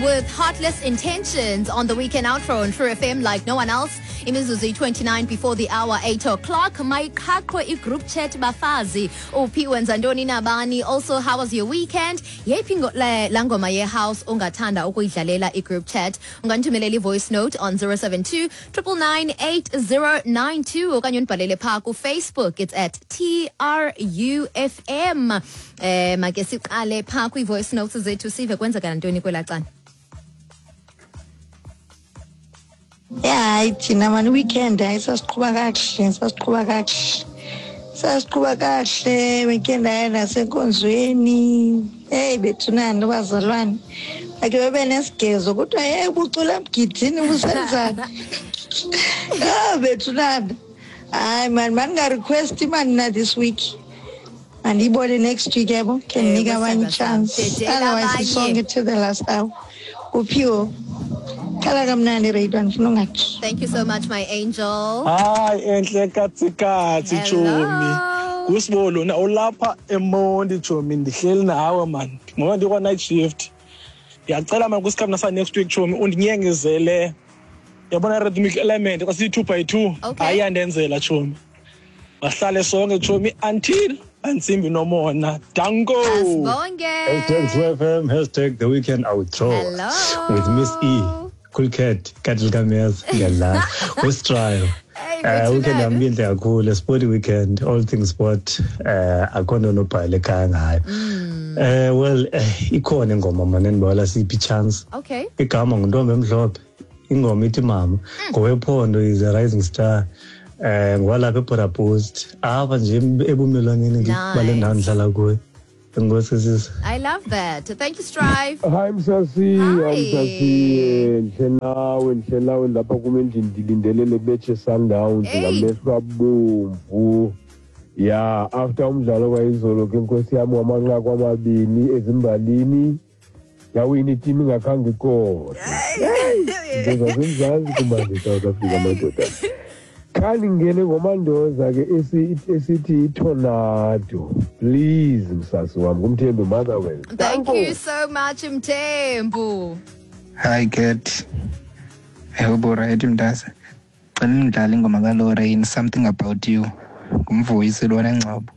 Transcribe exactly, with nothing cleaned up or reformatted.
with Heartless Intentions on the weekend outro on True F M like no one else. Imizuzu twenty-nine before the hour eight o'clock. Mayiqhaqhwe i-group chat, bafazi. Uphi, wenza ntoni nabani? Also, how was your weekend? Yeyiphi ngo- le- laa ngoma ye-house ungathanda ukuyidlalela i-group chat? Ungandithumelela i-voice note on zero seven two nine nine nine eight zero nine two okanye undibhalele phaa kuFacebook. It's at T R U F M. Eh make siqale phaa kwii-voice notes zethu, sive kwenzeka ntoni kwelaa cala. Ya, hayi, thina mani weekend, hayi, sasiqhuba kakuhle, sasiqhuba kakuhle, sasiqhuba kakuhle weekend. Hayi, nasenkonzweni, heyi bethunani, abazalwane bakhe bebe nesigezo, kuthiwa ye ubucula emgidini, busenzani? Ah, bethunani, hayi mani, mandingarequesti mani na this week, mandiyibone next week, yabo, khe ndinike Ewe, abanye sithandwa sam. i-chance. Dedela Otherwise abanye. Isonke to the last hour. Uphiwo, khala kamnandi, radio, ndifuna ungathi. Thank you so much, my angel. Hayi, enhle katsikatsi, tshomi. Hello. Ngusibolo na ulapha eMonti, tshomi. Ndihleli nawe man ngoba ndikwa-night shift. Ndiyacela man kwisikhathi nasa next week, tshomi, undinyengezele, yabona, Rhythmic Element xa siyi-two by two. Okay. Hayi, iyandenzela, tshomi. Bahlale sonke, tshomi, until antsimbi nomona. Danko. Asibonge. Hashtag True F M, hashtag the weekend outro. Hello. With Miss E, Cool Cat, Katil Kamez, ngiyadlala. Ustrayo. Hey, Uh, weekend bethunana. Yami inhle kakhulu, sport weekend, all things sport. Eh akho nto nobhala ekhaya ngayo. Eh well, eh, ikhona ingoma manje endibawela siphi chance. Okay. Igama nguNtombi Emhlophe. Ingoma ithi Mama. Ngowephondo, is a rising star. Eh ngowalapha eBorder Post. Apha nje ebumelwaneni bale ndawo Nice. ndihlala kuyo. Enkosi, sisi. I love that. Thank you, Strive. Hayi msasi. Hi. Hayi msasi, ndihle nawe, ndihle nawe lapha kum endlini, ndilindele le match ye-Sundowns Hey. ngamehlo abomvu. Ya, after umdlalo kwayizolo ke, nkosi yami, wamanqaku amabini ezimbalini, yawina itimu ingakhange ikore. Into zasemzantsi kumanje, South Africa, madoda. Khandingene ngoMandoza ke esi- esithi iTornado, please, msasi wam, nguMthembu, Motherwell. Thank you so much, Mthembu. Hi Cat. I hope alright, mntase. Cela nidlale ingoma kaLorraine, "Something About You". Ngumvuyisi lona, Ngcobo.